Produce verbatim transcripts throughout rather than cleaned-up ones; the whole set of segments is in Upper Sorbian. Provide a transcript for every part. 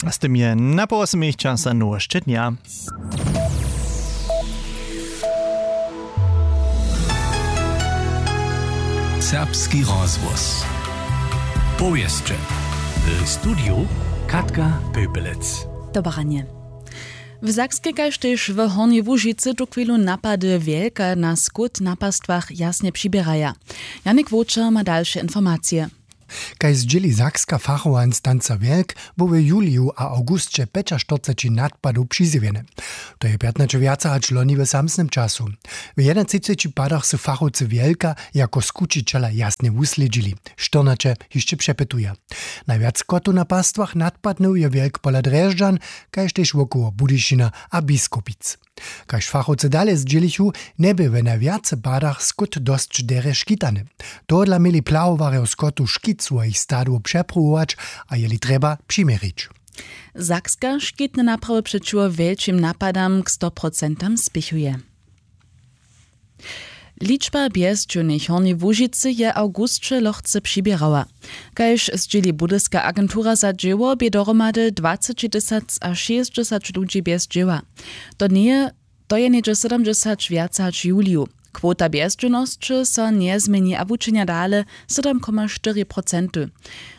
A z tym je na połosmich časa nowošće dnja. Serbski rozhłos. Powěsće. W studiju Katka Pöpelec. Dobaranje. W Sakskej kaž tež w Hornjej Łužicy tuchwilu napady wjelka na skót na pastwach jasnje přiběraja. Janik Wočer ma dalše informacije. Kaž zdźěli sakska fachowa instanca wjelk, bu w juliju a awgusće pjećaštyrceći nadpadow přizjewjene. To je pjatnaće wjace hač loni w samsnym času. W jedynatřiceći padach su fachowcy wjelka jako skućićela jasnje wuslědźili. Štyrnaće hišće přepytuja. Najwjac kotow na pastwach nadpadnył je wjelk pola drježdźan, kaž tež wokoło budyšina a biskopic. Kaž fachowcy dale zdźělichu, njebě w najwjace padach skót dosć derje škitany. Tohodla měli plahowarjo skotu škit swojich stadow přepruwować a jeli trjeba přiměrić. Sakska škitne naprawy přećiwo wjelčim napadam k stoprocentam spěchuje. Ličba bjezdźownych w Hornjej Łužicy je w awgusće lochce přiběrała. Kaž zdźěli budyska agentura za dźěło, bě dohromady dwaceći tysac a šěsćdźesać ludźi bjez dźěła. To njeje, to je něhdźe sydomdźesać wjace hač w juliju. Kwota bjezdźownosće so njezměni a wučenja dale, sydom koma štyri procenty.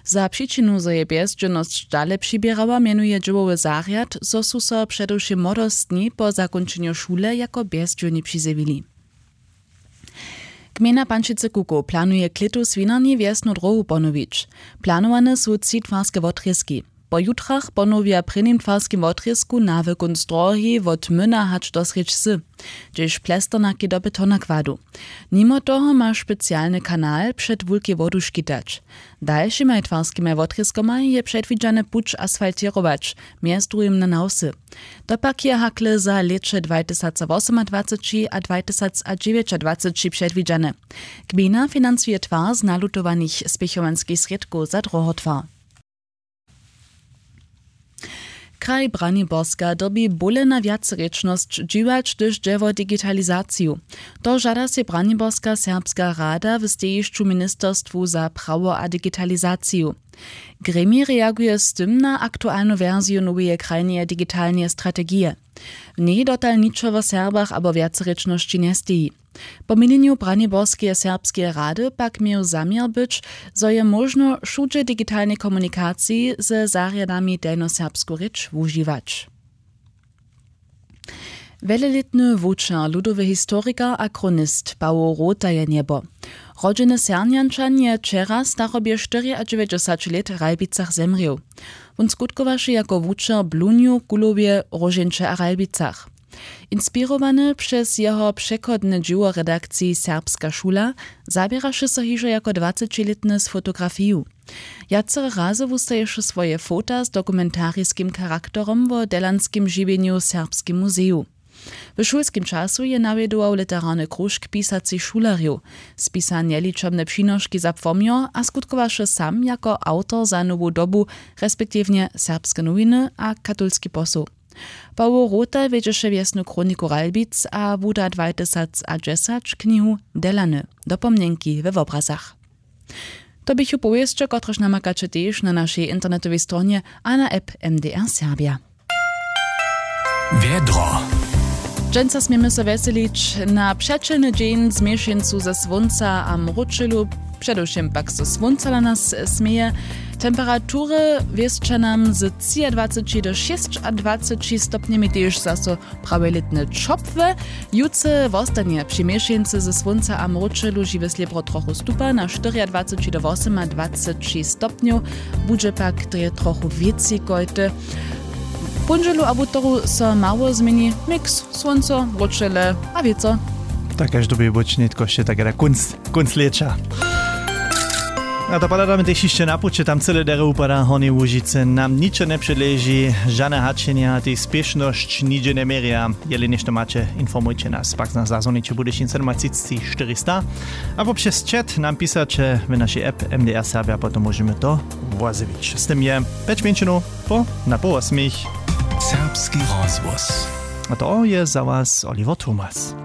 Za přičinu, zo je bjezdźownosć dale přiběrała, mjenuje dźěłowy zarjad, zo su so předewšěm młodostni po zakónčenju šule jako bjezdźowni přizjewili. Gmejna pančicy kukow planuje klětu swinarni wjesnu dróhu ponowić. Planowane su tři twarske wotrězki. Po jutrach ponowja w prěnim twarskim wotrězku nawykónc dróhi wot myna hač do srjedź wsy. Hdźež plesternaki do betona kładu. Nimo toho ma specialny kanal před wulkej wodu škitać. Dalšimaj twarskimaj wotrězkomaj je předwidźane puć asfaltěrować, mjez druhim na nawsy. To pak je hakle za lěće dwajtysacwosomadwaceći a dwajtysacadźewjećadwaceći předwidźane. Gmejna financuje twar z nalutowanych spěchowanskich srědkow za dróhotwar. Kraj Braniborska dyrbi bóle na wjacerěčnosć dźiwać, hdyž dźe wo digitalizaciju. To žada sej Braniborska serbska rada w stejišću ministerstwu za prawo a digitalizaciju. Gremij reaguje z tym na aktualnu wersiju noweje krajneje digitalneje strategije. W njej dotal ničo wo Serbach abo wjacerěčnosći njesteji. Po měnjenju Braniborskeje serbskeje rady pak měł zaměr być, zo je móžno wšudźe w digitalnej komunikaciji ze zarjadami delnjoserbsku rěč wužiwać. Wjelelětny wučer, ludowy historikar a chronist Pawoł Rota je njebo. Rodźeny Sernjančan je wčera w starobje štyriadźewjećdźesać lět w Ralbicach zemrěł. Wón skutkowaše jako wučer w Blunju, Kulowje, Róžeńće a Ralbicach. Inspirowany přez jeho přechodne dźěło w redakciji Serbska šula, zaběraše so hižo jako dwacećilětny z fotografiju. Wjacore razy wustaješe swoje fota z dokumentariskim charakterom wo delanskim žiwjenju w Serbskim muzeju. W šulskim času je nawjedował literarny króžk pisacych šulerjow, spisa njeličomne přinoški za płomjo a skutkowaše sam jako awtor za Nowu dobu, respektiwnje Serbske nowiny a Katolski posoł. Pawoł Rota wjedźeše wjesnu chroniku Ralbic a wuda dwatysacadźesać knihu Delany, dopomnjenki we wobrazach. To běchu powěsće, kotrež namakaće tež na našej internetowej stronje a na app M D R Serbia. Wjedro. Dźensa směmy so wjeselić na přećelny dźeń z měšeńcu ze słónca a mróčelu, předewšěm pak so słónca na nas směje. Temperatury wěsća nam z třiadwaceći do šěsćadwaceći stopnjemi tež zaso prawje lětne ćopłe. Jutře wostanje při měšeńcy ze słónca a mróčelu žiwe slěbro trochu stupa, na štyriadwaceći do wosomadwaceći stopnjow, budźe pak drje trochu wěcej kojty. W póndźelu a wutoru so mało změni, miks słónco, mróčele a wětro. Tak kaž dyrbi być nětko wšě tak da kónc, kónc lěća. A to pohladamy tež hišće na puće, tam cyle derje wupada, w Hornjej Łužicy nam ničo njepředleži, žane hačenja, tež spěšnosć nihdźe njeměrja. Jeli něšto maće, informujće nas, pak nas zazwoniće Budyšin sydomatřicći štyristo abo přez chat nam pisaće w našej app M D R Serbia, potom móžemy to wozjewić. Z tym je pjeć mjeńšinow po na poł wosmich. Serbski rozhłos. A to je za was Oliver Thomas.